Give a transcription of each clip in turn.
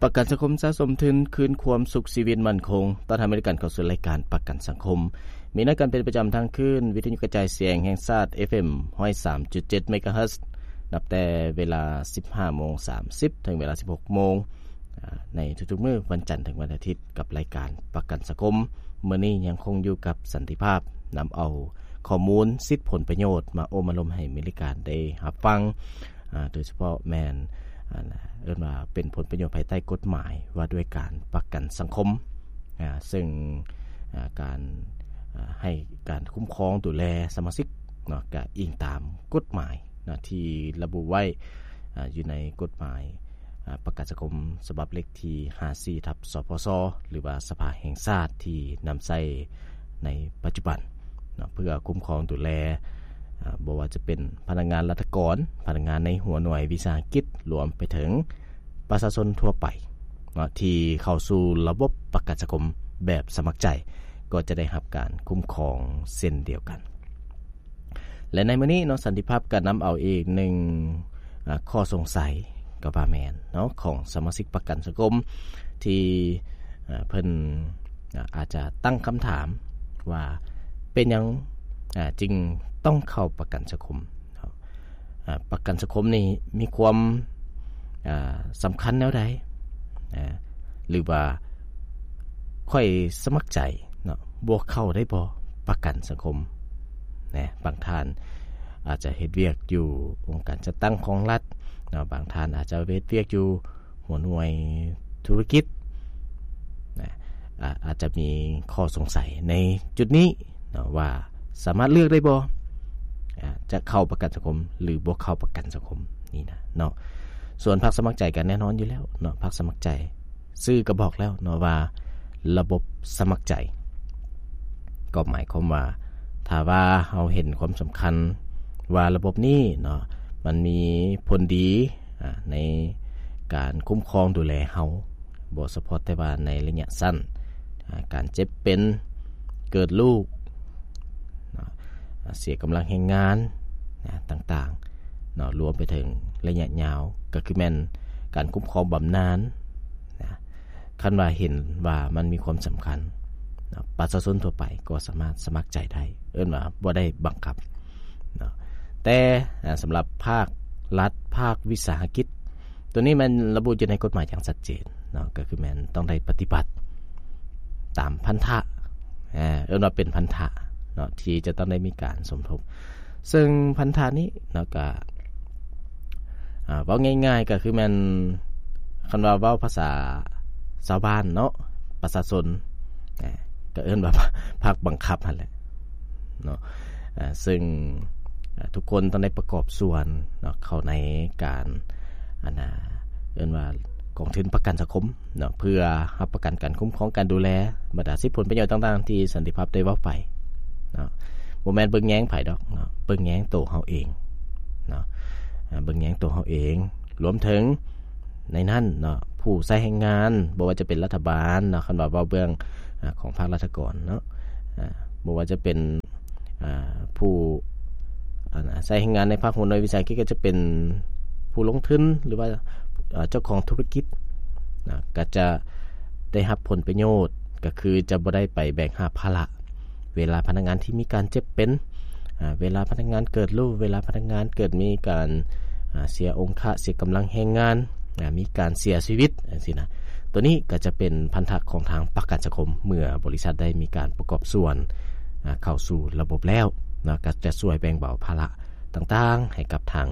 ປະກັນສັງຄົມສະສົມທຶນ ຄືນຄວາມສຸກຊີວິດໝັ້ນຄົງ. ຕ້ອນຮັບເຂົ້າສູ່ລາຍການປະກັນສັງຄົມ ມີນັດກັນເປັນປະຈຳທັງຄືນ. ວິທະຍຸກະຈາຍສຽງແຫ່ງຊາດ ເອັຟເອັມ ຮ້ອຍສາມຈຸດເຈັດ ເມກາເຮີດ ນັບແຕ່ເວລາ ສິບຫ້າໂມງສາມສິບ ເຖິງເວລາ ສິບຫົກໂມງ ໃນທຸກໆມື້ ວັນຈັນເຖິງວັນອາທິດ ກັບລາຍການປະກັນສັງຄົມ. ມື້ນີ້ຍັງຄົງຢູ່ກັບສັນຕິພາບ ນຳເອົາຂໍ້ມູນສິດຜົນປະໂຫຍດ ມາໂອ້ມາລົມໃຫ້ມີລາຍການໄດ້ຮັບຟັງ. ໂດຍສະເພາະແມ່ນ ເອີ້ນວ່າເປັນຜົນປະໂຫຍດພາຍໃຕ້ກົດໝາຍວ່າດ້ວຍການປະກັນສັງຄົມ ເຊິ່ງ ການ ໃຫ້ການຄຸ້ມຄອງດູແລສະມາຊິກເນາະ ກະອີງຕາມກົດໝາຍເນາະ ທີ່ລະບຸໄວ້ ຢູ່ໃນກົດໝາຍ ປະກັນສັງຄົມ ສະບັບເລກທີ ຫ້າສິບສີ່ ທັບ ສພຊ ຫຼືວ່າສະພາແຫ່ງຊາດ ທີ່ນຳໃຊ້ໃນປັດຈຸບັນເນາະ ເພື່ອຄຸ້ມຄອງດູແລ ບໍ່ວ່າຈະເປັນພະນັກງານລັດຖະກອນ, ພະນັກງານໃນຫົວໜ່ວຍວິສາຫະກິດ, ລວມໄປເຖິງປະຊາຊົນທົ່ວໄປເນາະ ທີ່ເຂົ້າສູ່ລະບົບປະກັນສັງຄົມແບບສະໝັກໃຈ ກໍຈະໄດ້ຮັບການຄຸ້ມຄອງເຊັ່ນດຽວກັນ. ແລະ ໃນມື້ນີ້ເນາະ ສັນຕິພາບກໍນຳເອົາອີກໜຶ່ງ ອາ ຂໍ້ສົງໄສກໍວ່າແມ່ນເນາະ ຂອງສະມາຊິກປະກັນສັງຄົມ ທີ່ ອາ ເພິ່ນ ອາ ອາດຈະຕັ້ງຄຳຖາມວ່າ ເປັນຫຍັງ ອາ ຈຶ່ງຕ້ອງເຂົ້າປະກັນສັງຄົມເນາະ? ອາ ປະກັນສັງຄົມນີ້ມີຄວາມ ອາ ສຳຄັນແນວໃດ? ອາ ຫຼືວ່າຂ້ອຍສະໝັກໃຈເນາະ ບໍ່ເຂົ້າໄດ້ບໍ່ ປະກັນສັງຄົມ ແນະ ບາງທ່ານອາດຈະເຮັດວຽກຢູ່ອົງການຈັດຕັ້ງຂອງລັດເນາະ, ບາງທ່ານອາດຈະເຮັດວຽກຢູ່ຫົວໜ່ວຍທຸລະກິດນະ ອາ ອາດຈະມີຂໍ້ສົງໄສໃນຈຸດນີ້ເນາະ ວ່າສາມາດເລືອກໄດ້ບໍ່ ອາ ຈະເຂົ້າປະກັນສັງຄົມ ຫຼືບໍ່ເຂົ້າປະກັນສັງຄົມນີ້ນະເນາະ. ສ່ວນພາກສະໝັກໃຈກໍແນ່ນອນຢູ່ແລ້ວເນາະ, ພາກສະໝັກໃຈ ຊື່ກໍບອກແລ້ວເນາະວ່າລະບົບສະໝັກໃຈ ກໍໝາຍຄວາມວ່າ ຖ້າວ່າເຮົາເຫັນຄວາມສຳຄັນວ່າລະບົບນີ້ເນາະ ມັນມີຜົນດີ ອາ ໃນການຄຸ້ມຄອງດູແລເຮົາ ບໍ່ສະເພາະແຕ່ວ່າໃນໄລຍະສັ້ນ ອາ ການເຈັບເປັນ ເກີດລູກເນາະ ອາ ເສຍກຳລັງແຮງງານນະ ຕ່າງໆເນາະ ລວມໄປເຖິງໄລຍະຍາວ ກໍຄືແມ່ນການຄຸ້ມຄອງບຳນານນະ. ຄັນວ່າເຫັນວ່າມັນມີຄວາມສຳຄັນເນາະ ປະຊາຊົນທົ່ວໄປກໍສາມາດສະໝັກໃຈໄດ້ ເອີ້ນວ່າບໍ່ໄດ້ບັງຄັບເນາະ. ແຕ່ ອາ ສຳລັບພາກລັດ ພາກວິສາຫະກິດ ຕົວນີ້ແມ່ນລະບຸຢູ່ໃນກົດໝາຍຢ່າງຊັດເຈນເນາະ ກໍຄືແມ່ນຕ້ອງໄດ້ປະຕິບັດຕາມພັນທະ ອາ ເອີ້ນວ່າເປັນພັນທະເນາະ ທີ່ຈະຕ້ອງໄດ້ມີການສົມທົບ. ເຊິ່ງພັນທະນີ້ເນາະ ກະ ອາ ເວົ້າງ່າຍໆ ກໍຄືແມ່ນ ຄັນວ່າເວົ້າພາສາຊາວບ້ານເນາະ ປະຊາຊົນ ອາ ກໍເອີ້ນວ່າພາກບັງຄັບຫັ້ນແຫຼະເນາະ. ອາ ເຊິ່ງ ອາ ທຸກຄົນຕ້ອງໄດ້ປະກອບສ່ວນເນາະ ເຂົ້າໃນການ ອັນນ່າ ເອີ້ນວ່າກອງທຶນປະກັນສັງຄົມເນາະ ເພື່ອຮັບປະກັນການຄຸ້ມຄອງ ການດູແລ ບັນດາສິດຜົນປະໂຫຍດຕ່າງໆ ທີ່ສັນຕິພາບໄດ້ເວົ້າໄປເນາະ. ບໍ່ແມ່ນເບິ່ງແຍງໃຜດອກເນາະ, ເບິ່ງແຍງໂຕເຮົາເອງເນາະ, ອາ ເບິ່ງແຍງໂຕເຮົາເອງ ລວມເຖິງໃນນັ້ນເນາະ ຜູ້ໃຊ້ແຮງງານ ບໍ່ວ່າຈະເປັນລັດຖະບານເນາະ, ຄັນວ່າເວົ້າເບື້ອງ ອາ ຂອງພາກລັດຖະກອນເນາະ ອາ ບໍ່ວ່າຈະເປັນ ອາ ຜູ້ ອັນ ໃຊ້ແຮງງານໃນພາກຫົວໜ່ວຍວິສາຫະກິດ ກໍຈະເປັນຜູ້ລົງທຶນ ຫຼືວ່າ ອາ ເຈົ້າຂອງທຸລະກິດນະ ກໍຈະໄດ້ຮັບຜົນປະໂຫຍດ ກໍຄືຈະບໍ່ໄດ້ໄປແບກຫາບພາລະ ເວລາພະນັກງານທີ່ມີການເຈັບເປັນ ອາ ເວລາພະນັກງານເກີດລູກ ເວລາພະນັກງານເກີດມີການ ອາ ເສຍອົງຄະ ເສຍກຳລັງແຮງງານ ອາ ມີການເສຍຊີວິດ ຈັ່ງຊີ້ນະ. ຕົວນີ້ກໍຈະເປັນພັນທະຂອງທາງປະກັນສັງຄົມ ເມື່ອບໍລິສັດໄດ້ມີການປະກອບສ່ວນ ອາ ເຂົ້າສູ່ລະບົບແລ້ວເນາະ ກໍຈະຊ່ວຍແບ່ງເບົາພາລະຕ່າງໆໃຫ້ກັບທາງ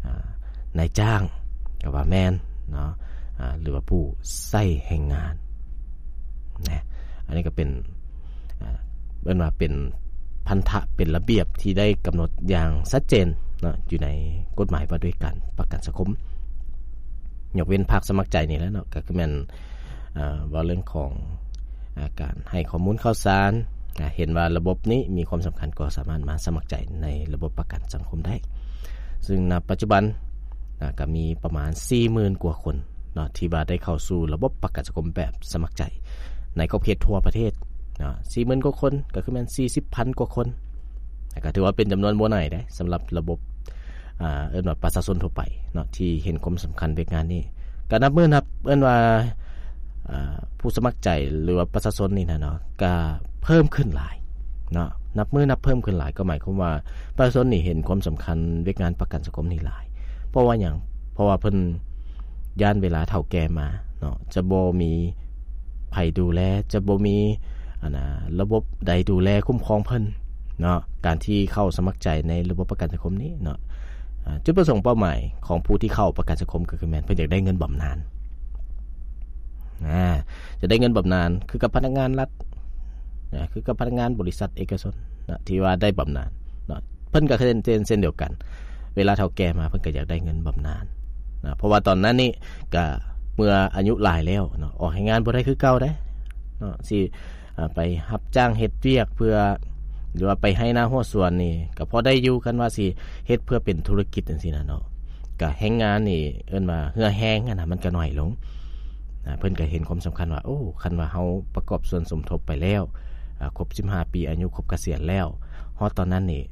ອາ ນາຍຈ້າງ ກໍວ່າແມ່ນເນາະ ອາ ຫຼືວ່າຜູ້ໃຊ້ແຮງງານນະ. ອັນນີ້ກໍເປັນ ອາ ເອີ້ນວ່າເປັນພັນທະ ເປັນລະບຽບທີ່ໄດ້ກຳນົດຢ່າງຊັດເຈນເນາະ ຢູ່ໃນກົດໝາຍວ່າດ້ວຍການປະກັນສັງຄົມ ຍົກເວັ້ນພາກສະໝັກໃຈນີ້ແຫຼະເນາະ ກໍຄືແມ່ນ ອາ ເວົ້າເລື່ອງຂອງ ອາ ການໃຫ້ຂໍ້ມູນຂ່າວສານ ອາ ເຫັນວ່າລະບົບນີ້ມີຄວາມສຳຄັນ ກໍສາມາດມາສະໝັກໃຈໃນລະບົບປະກັນສັງຄົມໄດ້. ເຊິ່ງນະປັດຈຸບັນ ອາ ກໍມີປະມານສີ່ໝື່ນກວ່າຄົນເນາະ ທີ່ວ່າໄດ້ເຂົ້າສູ່ລະບົບປະກັນສັງຄົມແບບສະໝັກໃຈ ໃນຂອບເຂດທົ່ວປະເທດເນາະ ສີ່ໝື່ນກວ່າຄົນ ກໍຄືແມ່ນສີ່ສິບພັນກວ່າຄົນ ແຕ່ກໍຖືວ່າເປັນຈຳນວນບໍ່ໜ້ອຍເດ້ ສຳລັບລະບົບ ອາ ເອີ້ນວ່າປະຊາຊົນທົ່ວໄປເນາະ ທີ່ເຫັນຄວາມສຳຄັນວຽກງານນີ້ ກໍນັບມື້ນັບ ເອີ້ນວ່າ ເອີ ຜູ້ສະໝັກໃຈ ຫຼືວ່າປະຊາຊົນນີ້ນະເນາະ ກໍເພີ່ມຂຶ້ນຫຼາຍເນາະ. ນັບມື້ນັບເພີ່ມຂຶ້ນຫຼາຍ ກໍໝາຍຄວາມວ່າປະຊາຊົນນີ້ເຫັນຄວາມສຳຄັນວຽກງານປະກັນສັງຄົມນີ້ຫຼາຍ. ເພາະວ່າຫຍັງ? ເພາະວ່າເພິ່ນຢ້ານເວລາເຖົ້າແກ່ມາເນາະ ຈະບໍ່ມີໃຜດູແລ ຈະບໍ່ມີ ອັນນະ ລະບົບໃດດູແລຄຸ້ມຄອງເພິ່ນເນາະ. ການທີ່ເຂົ້າສະໝັກໃຈໃນລະບົບປະກັນສັງຄົມນີ້ເນາະ ອາ ຈຸດປະສົງເປົ້າໝາຍຂອງຜູ້ທີ່ເຂົ້າປະກັນສັງຄົມ ກໍຄືແມ່ນເພິ່ນຢາກໄດ້ເງິນບຳນານ ອາ ຈະໄດ້ເງິນບຳນານຄືກັບພະນັກງານລັດ ອາ ຄືກັບພະນັກງານບໍລິສັດເອກະຊົນນະ ທີ່ວ່າໄດ້ບຳນານເນາະ. ເພິ່ນກໍເຊັ່ນ ເຊັ່ນ ເຊັ່ນດຽວກັນ ເວລາເຖົ້າແກ່ມາ ເພິ່ນກໍຢາກໄດ້ເງິນບຳນານນະ ເພາະວ່າຕອນນັ້ນນີ້ກໍເມື່ອອາຍຸຫຼາຍແລ້ວເນາະ ອອກແຮງງານບໍ່ໄດ້ຄືເກົ່າເດ້ເນາະ ຊິ ອາ ໄປຮັບຈ້າງເຮັດວຽກເພື່ອ ຫຼືວ່າໄປໄຮ່ນາຮົ້ວສວນນີ້ກໍພໍໄດ້ຢູ່. ຄັນວ່າຊິເຮັດເພື່ອເປັນທຸລະກິດຈັ່ງຊີ້ນະເນາະ ກະແຮງງານນີ້ເອີ້ນວ່າເຫື່ອແຮງຫັ້ນນະ ມັນກະໜ້ອຍລົງ. ອາ ເພິ່ນກະເຫັນຄວາມສຳຄັນວ່າ ໂອ້ ຄັນວ່າເຮົາປະກອບສ່ວນສົມທົບໄປແລ້ວ ອາ ຄົບສິບຫ້າປີ ອາຍຸຄົບກະສຽນແລ້ວ ຮອດຕອນນັ້ນນີ້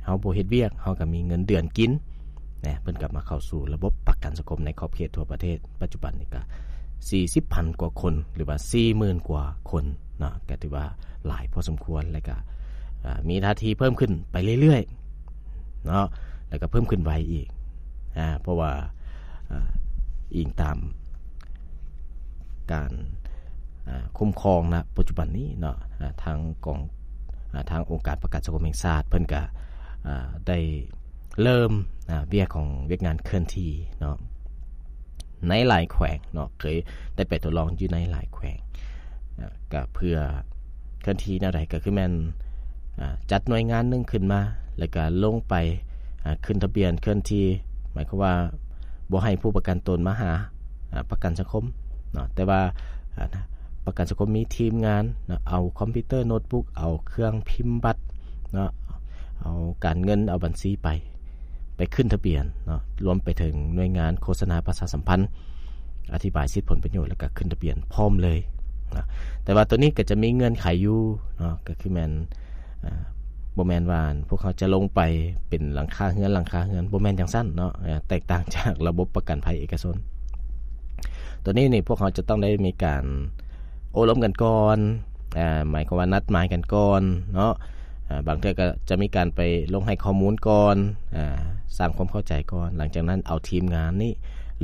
ເຮົາບໍ່ເຮັດວຽກ ເຮົາກະມີເງິນເດືອນກິນ ນະ ເພິ່ນກໍມາເຂົ້າສູ່ລະບົບປະກັນສັງຄົມໃນຂອບເຂດທົ່ວປະເທດ. ປັດຈຸບັນນີ້ກໍສີ່ສິບພັນກວ່າຄົນ ຫຼືວ່າສີ່ໝື່ນກວ່າຄົນເນາະ ກໍຖືວ່າຫຼາຍພໍສົມຄວນ ແລະກໍ ເອີ ມີທ່າທີເພີ່ມຂຶ້ນໄປເລື້ອຍໆເນາະ ແລະກໍເພີ່ມຂຶ້ນໄວອີກ ອາ ເພາະວ່າ ເອີ ອີງຕາມການ ອາ ຄຸ້ມຄອງນະປັດຈຸບັນນີ້ເນາະ ອາ ທາງກອງ ອາ ທາງອົງການປະກັນສັງຄົມແຫ່ງຊາດ ເພິ່ນກໍ ອາ ໄດ້ ເລີ່ມ ອາ ວຽກຂອງ ວຽກງານເຄື່ອນທີ່ເນາະ ໃນຫຼາຍແຂວງເນາະ ເຄີຍໄດ້ໄປທົດລອງຢູ່ໃນຫຼາຍແຂວງ ອາ ກະເພື່ອເຄື່ອນທີ່ແນວໃດ ກະຄືແມ່ນ ອາ ຈັດໜ່ວຍງານໜຶ່ງຂຶ້ນມາ ແລ້ວກະລົງໄປ ອາ ຂຶ້ນທະບຽນເຄື່ອນທີ່ ໝາຍຄວາມວ່າບໍ່ໃຫ້ຜູ້ປະກັນຕົນມາຫາ ອາ ປະກັນສັງຄົມເນາະ ແຕ່ວ່າ ອາ ປະກັນສັງຄົມມີທີມງານເນາະ ເອົາຄອມພິວເຕີ ໂນດບຸກ ເອົາເຄື່ອງພິມບັດເນາະ ເອົາການເງິນ ເອົາບັນຊີໄປ ໄປຂຶ້ນທະບຽນເນາະ ລວມໄປເຖິງໜ່ວຍງານໂຄສະນາປະຊາສຳພັນ ອະທິບາຍສິດຜົນປະໂຫຍດ ແລ້ວກະຂຶ້ນທະບຽນພ້ອມເລີຍເນາະ. ແຕ່ວ່າໂຕນີ້ກະຈະມີເງື່ອນໄຂຢູ່ເນາະ ກະຄືແມ່ນ ອາ ບໍ່ແມ່ນວ່າພວກເຮົາຈະລົງໄປເປັນຫຼັງຄາເຮືອນ ຫຼັງຄາເຮືອນ ບໍ່ແມ່ນຈັ່ງຊັ້ນເນາະ ອາ ແຕກຕ່າງຈາກລະບົບປະກັນໄພເອກະຊົນ. ໂຕນີ້ນີ້ພວກເຮົາຈະຕ້ອງໄດ້ມີການໂອ້ລົມກັນກ່ອນ ອາ ໝາຍຄວາມວ່ານັດໝາຍກັນກ່ອນເນາະ ອາ ບາງເທື່ອກໍຈະມີການໄປລົງໃຫ້ຂໍ້ມູນກ່ອນ ອາ ສ້າງຄວາມເຂົ້າໃຈກ່ອນ ຫຼັງຈາກນັ້ນເອົາທີມງານນີ້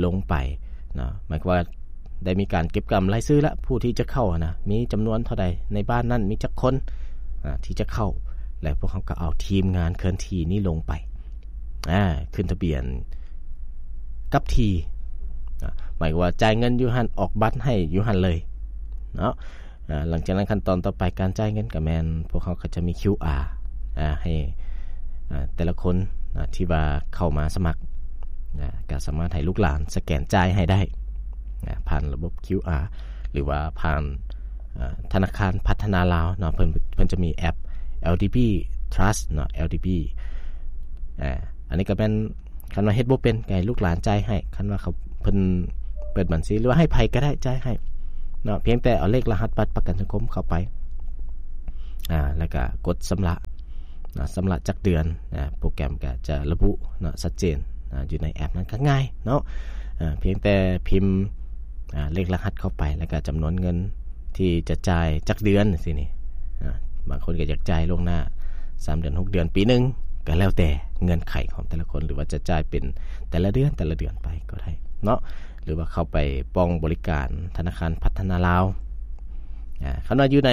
ລົງໄປເນາະ ໝາຍຄວາມວ່າ ໄດ້ມີການເກັບກຳລາຍຊື່ລະ ຜູ້ທີ່ຈະເຂົ້າຫັ້ນນະ ມີຈຳນວນເທົ່າໃດ ໃນບ້ານນັ້ນມີຈັກຄົນ ອາ ທີ່ຈະເຂົ້າ ແລະ ພວກເຮົາກໍເອົາທີມງານເຄື່ອນທີ່ນີ້ລົງໄປ ອາ ຂຶ້ນທະບຽນກັບທີ່ ອາ ໝາຍຄວາມວ່າຈ່າຍເງິນຢູ່ຫັ້ນ ອອກບັດໃຫ້ຢູ່ຫັ້ນເລີຍເນາະ. ອາ ຫຼັງຈາກນັ້ນຂັ້ນຕອນຕໍ່ໄປການຈ່າຍເງິນກໍແມ່ນ ພວກເຮົາກໍຈະມີຄິວອາ ອາ ໃຫ້ ອາ ແຕ່ລະຄົນ ອາ ທີ່ວ່າເຂົ້າມາສະໝັກ ອາ ກໍສາມາດໃຫ້ລູກຫຼານສະແກນຈ່າຍໃຫ້ໄດ້ ອາ ຜ່ານລະບົບຄິວອາ ຫຼືວ່າຜ່ານ ອາ ທະນາຄານພັດທະນາລາວເນາະ ເພິ່ນ ເພິ່ນຈະມີແອັບ ແອລດີບີ Trust ເນາະ ແອລດີບີ ອາ ອັນນີ້ກໍແມ່ນ ຄັນວ່າເຮັດບໍ່ເປັນ ກໍໃຫ້ລູກຫຼານຈ່າຍໃຫ້ ຄັນວ່າເຂົາ ເພິ່ນເປີດບັນຊີ ຫຼືວ່າໃຫ້ໃຜກໍໄດ້ຈ່າຍໃຫ້ເນາະ ພຽງແຕ່ເອົາເລກລະຫັດບັດປະກັນສັງຄົມເຂົ້າໄປ ອາ ແລ້ວກໍກົດຊຳລະ ນະ ຊຳລະຈັກເດືອນ ນະ ໂປຣແກຣມກໍຈະລະບຸເນາະ ຊັດເຈນ ນະ ຢູ່ໃນແອັບນັ້ນກໍງ່າຍເນາະ ອາ ພຽງແຕ່ພິມ ອາ ເລກລະຫັດເຂົ້າໄປ ແລ້ວກໍຈຳນວນເງິນທີ່ຈະຈ່າຍຈັກເດືອນຈັ່ງຊີ້ນີ້ ອາ ບາງຄົນກໍຢາກຈ່າຍລ່ວງໜ້າສາມເດືອນ ຫົກເດືອນ ປີໜຶ່ງ ກໍແລ້ວແຕ່ເງື່ອນໄຂຂອງແຕ່ລະຄົນ ຫຼືວ່າຈະຈ່າຍເປັນແຕ່ລະເດືອນ ແຕ່ລະເດືອນໄປກໍໄດ້ເນາະ ຫຼືວ່າເຂົ້າໄປປ່ອງບໍລິການທະນາຄານພັດທະນາລາວ ອາ ຄັນວ່າຢູ່ໃນ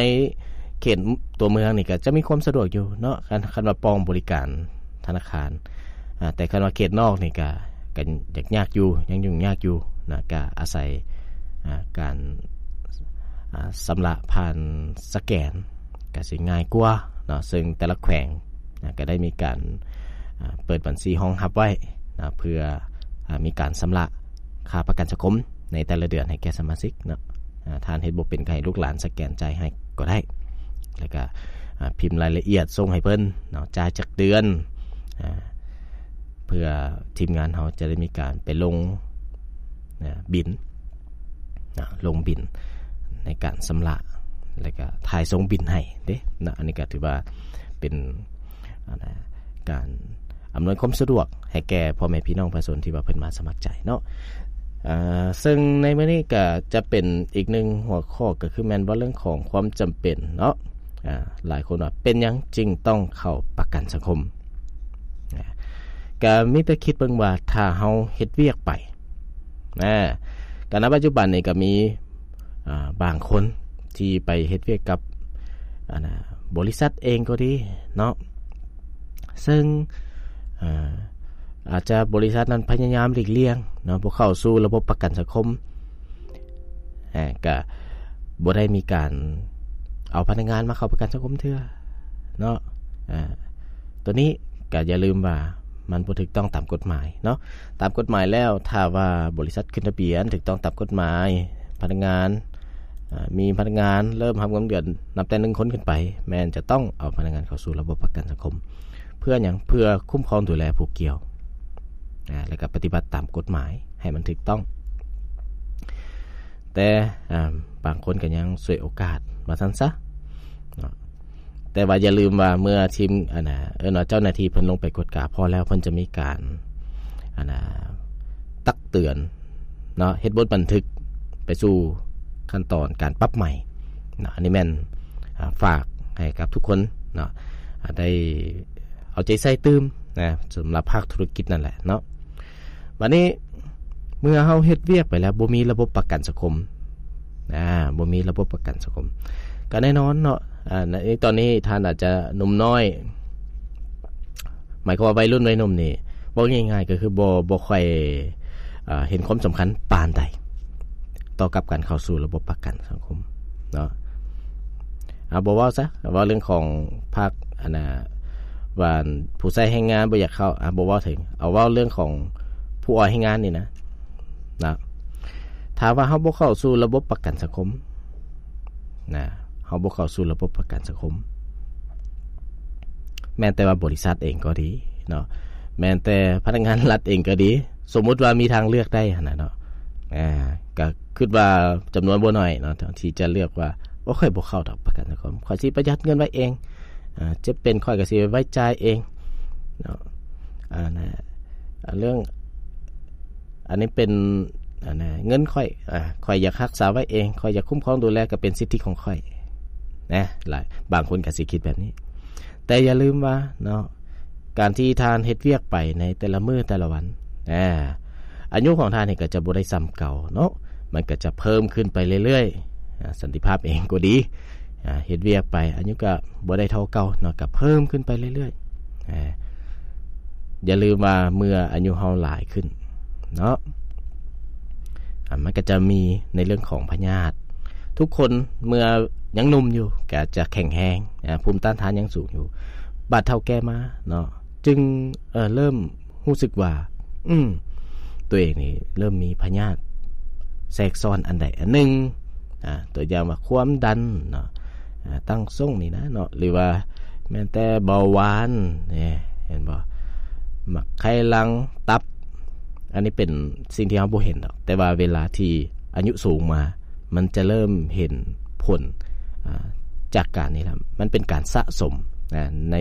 ເຂດຕົວເມືອງນີ້ກໍຈະມີຄວາມສະດວກຢູ່ເນາະ ຄັນ ຄັນວ່າປ່ອງບໍລິການທະນາຄານ ອາ ແຕ່ຄັນວ່າເຂດນອກນີ້ກໍ ກໍຍາກ ຍາກຢູ່ ຍັງຫຍຸ້ງຍາກຢູ່ນະ ກໍອາໄສ ອາ ການ ອາ ຊຳລະຜ່ານສະແກນ ກໍຊິງ່າຍກວ່າເນາະ ເຊິ່ງແຕ່ລະແຂວງນະ ກໍໄດ້ມີການ ອາ ເປີດບັນຊີຮອງຮັບໄວ້ນະ ເພື່ອ ອາ ມີການຊຳລະຄ່າປະກັນສັງຄົມໃນແຕ່ລະເດືອນໃຫ້ແກ່ສະມາຊິກເນາະ ອາ ທ່ານເຮັດບໍ່ເປັນ ກໍໃຫ້ລູກຫຼານສະແກນຈ່າຍໃຫ້ກໍໄດ້ ແລ້ວກໍ ອາ ພິມລາຍລະອຽດສົ່ງໃຫ້ເພິ່ນເນາະ ຈ່າຍຈັກເດືອນ ອາ ເພື່ອທີມງານເຮົາຈະໄດ້ມີການໄປລົງ ອາ ບິນ ນະ ລົງບິນໃນການຊຳລະ ແລ້ວກະຖ່າຍສົ່ງບິນໃຫ້ເດ້ນະ. ອັນນີ້ກະຖືວ່າເປັນ ອັນນະ ການອຳນວຍຄວາມສະດວກໃຫ້ແກ່ພໍ່ແມ່ພີ່ນ້ອງປະຊາຊົນທີ່ວ່າເພິ່ນມາສະໝັກໃຈເນາະ. ອ່າ ເຊິ່ງໃນມື້ນີ້ກໍຈະເປັນອີກໜຶ່ງຫົວຂໍ້ ກໍຄືແມ່ນເວົ້າເລື່ອງຂອງຄວາມຈຳເປັນເນາະ. ອ່າ ຫຼາຍຄົນວ່າເປັນຫຍັງຈຶ່ງຕ້ອງເຂົ້າປະກັນສັງຄົມ? ອ່າ ກໍມີແຕ່ຄິດເບິ່ງວ່າຖ້າເຮົາເຮັດວຽກໄປ ນະ ກໍໃນປັດຈຸບັນນີ້ກໍມີ ອ່າ ບາງຄົນທີ່ໄປເຮັດວຽກກັບ ອັນນ່າ ບໍລິສັດເອງກໍດີເນາະ ເຊິ່ງ ເອີ ອາດຈະບໍລິສັດນັ້ນພະຍາຍາມຫຼີກລ່ຽງເນາະ ບໍ່ເຂົ້າສູ່ລະບົບປະກັນສັງຄົມ ເອີ ກະບໍ່ໄດ້ມີການເອົາພະນັກງານມາເຂົ້າປະກັນສັງຄົມເທື່ອເນາະ. ອາ ໂຕນີ້ກະຢ່າລືມວ່າມັນບໍ່ຖືກຕ້ອງຕາມກົດໝາຍເນາະ. ຕາມກົດໝາຍແລ້ວ ຖ້າວ່າບໍລິສັດຂຶ້ນທະບຽນຖືກຕ້ອງຕາມກົດໝາຍ ພະນັກງານ ອາ ມີພະນັກງານເລີ່ມຮັບເງິນເດືອນນັບແຕ່ໜຶ່ງຄົນຂຶ້ນໄປ ແມ່ນຈະຕ້ອງເອົາພະນັກງານເຂົ້າສູ່ລະບົບປະກັນສັງຄົມ. ເພື່ອຫຍັງ? ເພື່ອຄຸ້ມຄອງດູແລຜູ້ກ່ຽວ ອາ ແລ້ວກໍປະຕິບັດຕາມກົດໝາຍໃຫ້ມັນຖືກຕ້ອງ. ແຕ່ ອາ ບາງຄົນກໍຍັງສວຍໂອກາດວ່າຊັ້ນຊະເນາະ. ແຕ່ວ່າຢ່າລືມວ່າເມື່ອທີມ ອັນນ່າ ເອີ້ນວ່າເຈົ້າໜ້າທີ່ເພິ່ນລົງໄປກວດກາພໍແລ້ວ ເພິ່ນຈະມີການ ອັນນ່າ ຕັກເຕືອນເນາະ ເຮັດບົດບັນທຶກໄປສູ່ຂັ້ນຕອນການປັບໃໝເນາະ. ອັນນີ້ແມ່ນ ອາ ຝາກໃຫ້ກັບທຸກຄົນເນາະ ອາ ໄດ້ເອົາໃຈໃສ່ຕື່ມນະ ສຳລັບພາກທຸລະກິດນັ້ນແຫຼະເນາະ. ບາດນີ້ເມື່ອເຮົາເຮັດວຽກໄປແລ້ວ ບໍ່ມີລະບົບປະກັນສັງຄົມ ອາ ບໍ່ມີລະບົບປະກັນສັງຄົມ ກໍແນ່ນອນເນາະ ອາ ໃນຕອນນີ້ທ່ານອາດຈະໜຸ່ມນ້ອຍ ໝາຍຄວາມວ່າໄວລຸ້ນໄວໜຸ່ມນີ້ ເວົ້າງ່າຍໆກໍຄືບໍ່ ບໍ່ຄ່ອຍ ອາ ເຫັນຄວາມສຳຄັນປານໃດ ຕໍ່ກັບການເຂົ້າສູ່ລະບົບປະກັນສັງຄົມເນາະ. ອາ ບໍ່ເວົ້າຊະ ເວົ້າເລື່ອງຂອງພາກ ອັນນ່າ ວ່າຜູ້ໃຊ້ແຮງງານບໍ່ຢາກເຂົ້າ ອາ ບໍ່ເວົ້າເຖິງ ເອົາເວົ້າເລື່ອງຂອງຜູ້ອອກແຮງງານນີ້ນະ ນະ ຖ້າວ່າເຮົາບໍ່ເຂົ້າສູ່ລະບົບປະກັນສັງຄົມນະ ເຮົາບໍ່ເຂົ້າສູ່ລະບົບປະກັນສັງຄົມ ແມ່ນແຕ່ວ່າບໍລິສັດເອງກໍດີເນາະ ແມ່ນແຕ່ພະນັກງານລັດເອງກໍດີ ສົມມຸດວ່າມີທາງເລືອກໄດ້ຫັ້ນນະເນາະ ອາ ກໍຄິດວ່າຈຳນວນບໍ່ໜ້ອຍເນາະ ທີ່ຈະເລືອກວ່າ ໂອ້ ຂ້ອຍບໍ່ເຂົ້າດອກປະກັນສັງຄົມ ຂ້ອຍຊິປະຢັດເງິນໄວ້ເອງ ອາ ເຈັບເປັນຂ້ອຍກໍຊິໄວ້ຈ່າຍເອງເນາະ. ອາ ນະ ເລື່ອງ ອັນນີ້ເປັນ ອັນນະ ເງິນຂ້ອຍ ອາ ຂ້ອຍຢາກຮັກສາໄວ້ເອງ ຂ້ອຍຢາກຄຸ້ມຄອງດູແລ ກໍເປັນສິດທິຂອງຂ້ອຍນະ ຫຼາຍ ບາງຄົນກໍຊິຄິດແບບນີ້. ແຕ່ຢ່າລືມວ່າເນາະ ການທີ່ທ່ານເຮັດວຽກໄປໃນແຕ່ລະມື້ແຕ່ລະວັນ ອາ ອາຍຸຂອງທ່ານນີ້ກໍຈະບໍ່ໄດ້ສ່ຳເກົ່າເນາະ ມັນກໍຈະເພີ່ມຂຶ້ນໄປເລື້ອຍໆ ອາ ສັນຕິພາບເອງກໍດີ ອາ ເຮັດວຽກໄປ ອາຍຸກໍບໍ່ໄດ້ເທົ່າເກົ່າເນາະ ກໍເພີ່ມຂຶ້ນໄປເລື້ອຍໆ ອາ ຢ່າລືມວ່າເມື່ອອາຍຸເຮົາຫຼາຍຂຶ້ນເນາະ ອາ ມັນກໍຈະມີໃນເລື່ອງຂອງພະຍາດ. ທຸກຄົນເມື່ອຍັງໜຸ່ມຢູ່ກໍຈະແຂງແຮງ ອາ ພູມຕ້ານທານຍັງສູງຢູ່ ບາດເຖົ້າແກ່ມາເນາະ ຈຶ່ງ ເອີ ເລີ່ມຮູ້ສຶກວ່າ ອືມ ຕົວເອງນີ້ເລີ່ມມີພະຍາດແຊກຊ້ອນອັນໃດອັນໜຶ່ງ ອາ ຕົວຢ່າງວ່າຄວາມດັນເນາະ ອາ ຕັ້ງຊົງນີ້ນະເນາະ ຫຼືວ່າແມ່ນແຕ່ເບົາຫວານນີ້ ເຫັນບໍ່ ໝາກໄຂ່ຫຼັງ ຕັບ ອັນນີ້ເປັນສິ່ງທີ່ເຮົາບໍ່ເຫັນດອກ ແຕ່ວ່າເວລາທີ່ອາຍຸສູງມາ ມັນຈະເລີ່ມເຫັນຜົນ ອາ ຈາກການນີ້ລະ ມັນເປັນການສະສົມ ອາ ໃນ